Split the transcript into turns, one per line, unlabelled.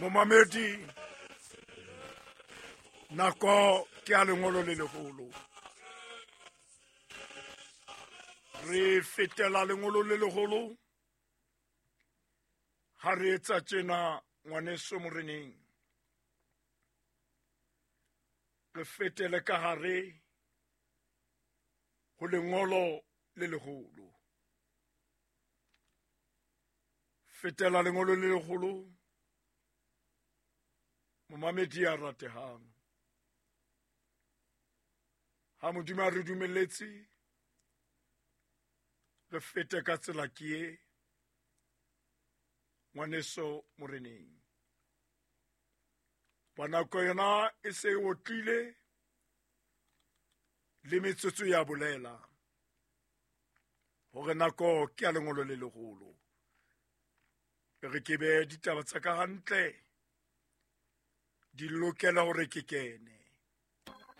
Momamedi, nako ke a lengolo le leholo. Re fetela lengolo le leholo ha re etsa tjena ngwaneso moreneng. Re fetele ka hare ho lengolo le leholo. Fetela lengolo le leholo momamedi ya ratehang. Ha Modimo a re dumelletse re fete ka tsela ke e ngwaneso moreneng. Ba nako yona e se e otlile le metsotso ya bolela hore nako ke ya lengolo le leholo. Re ke be ditaba tsa ka hantle di lokela hore ke kene.